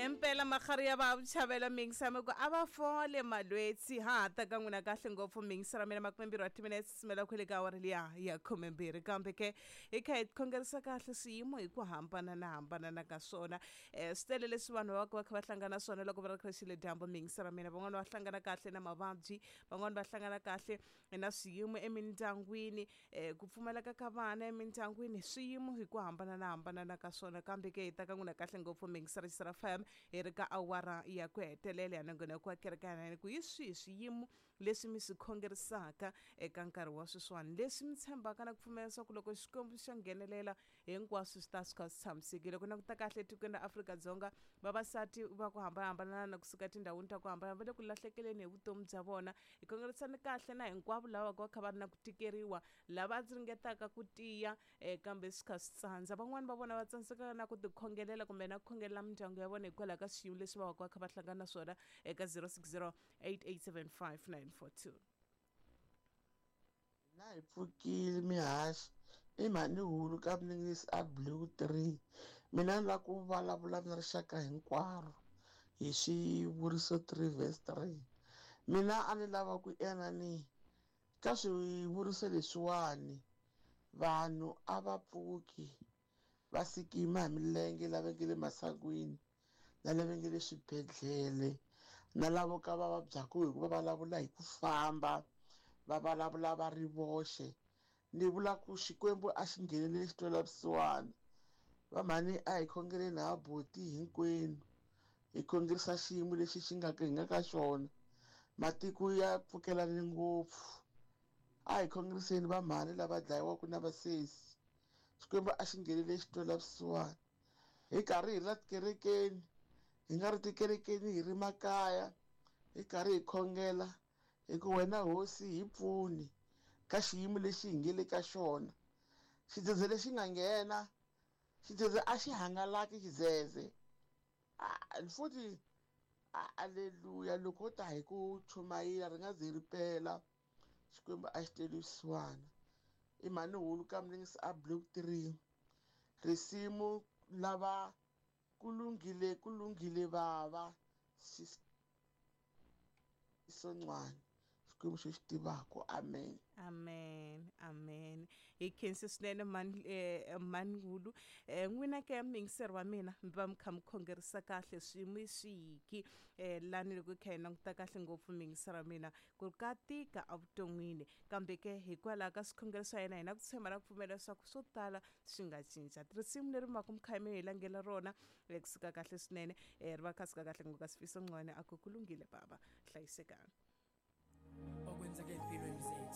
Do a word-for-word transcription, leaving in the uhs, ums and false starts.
Impela magari ya va chavela mingisame ku a va fole malwetsi ha ta ka n'wina kahle ngopfu mingisera mina makumembirhi wa timinetse simela kwele ka awara liya ya khumembirhi kambe ke hi kha hi khongerisa kahle swiyimo hi ku hambana na hambana na ka swona um swi tele leswi vanhu va va kha va hlangana swona loko va ri kha xile dyambu mingisera mina van'wani va hlangana kahle na mavabyi van'wani va hlangana kahle na swiyimo emindyangwini um ku pfumaleka ka vana emindyangwini swiyimo hi ku hambana na hambana na ka swona kambe ke hi ta ka n'wina kahle ngopfu mingisera xisera fm hi ri ka awara ya ku hetelela ya nongonoko wa kereke ya ku hi swihi swiyimo leswi mi swi khongerisaka eka nkarhi wa sweswiwani leswi mi tshembaka na ku pfumela leswaku loko xikwembu xa nghenelela hinkwaswo swi ta swi kha swi tshamisekile ku na ku ta kahle etikweni ra Afrika-Dzonga vavasati va ku hambanahambana na kusuka etindhawini ta ku hambana va le ku lahlekeleni hi vutomi bya vona hi khongerisani kahle na hinkwavo lava va kha va ri na ku tikeriwa lava ringetaka ku tiya um kambe swi kha swi tsandza van'wani va vona va tsandzeka na ku tikhongelela kumbe na ku khongelela mindyangu ya vona hikwalaho ka swiyimo leswi va va ka va kha va hlangana na swona eka zero six zero eight eight seven five nine four two. Na hi pfukile mihaxi i mhani hulu ka mningisi a blue three mina ni lava ku vulavula na rixaka hinkwaro hi swivuriso three verse three mina a ni lava ku ena ni ka swivuriso leswiwani vanhu a va pfuki va sikima hi milenge lava nge le masangwini na lava nge le swibedhlele na lavo ka va vabyaka hi ku va vulavula hi ku famba va vulavula va ri voxe ni vula ku xikwembu a xi ngheneleli xi twela vusiwana va mhani a hi khongeleni ha buti hinkwenu hi khongerisa xiyimo lexi xi nga hi nga ka xona matiko ya pfukelani ngopfu a hi khongeriseni va mhani lava dlayiwaka na vasesi xikwembu a xi ngheneleli xi twela vusiwana hi karhi hi la tikerekeni hi nga ri tikerekeni hi ri makaya hi karhi hi khongela hi ku wena hosi hi pfuni ka xiyimo lexi hi nge le ka xona xidzedze lexi nga nghena xidzedze a xi hangalaki xidzedze futhi aleluya loko ta hi ku chumayela ri nga ze ri pela xikwembu a xi tweli vusiwana i mhani hulu ka mningisi a blue three risimu lava ku lunghile ku lunghile bava Xisoncwana xikwembu xo xi tivaka amen amen amen hi khensi swinene mani eh, manhulu eh, n'wina ke mingiseri wa mina mi va mi kha mi khongerisa kahle swiyimo i swihiki eh, lani loko hi kha hi languta kahle ngopfu mingiseri wa mina ku ka tika evuton'wini kambe ke hikwalaho ka swikhongelo swa yena hina ku tshemba na ku pfumela leswaku swo tala swi nga cinca risimu leri mi va ku mi kha mi hi langela rona eh, kusuka kahle swinene eh, ri va kha suka kahle ngopfu ka Sifiso Ncwane a ku ku lunghile baba hlayisekani okwenzeka empilweni zethu.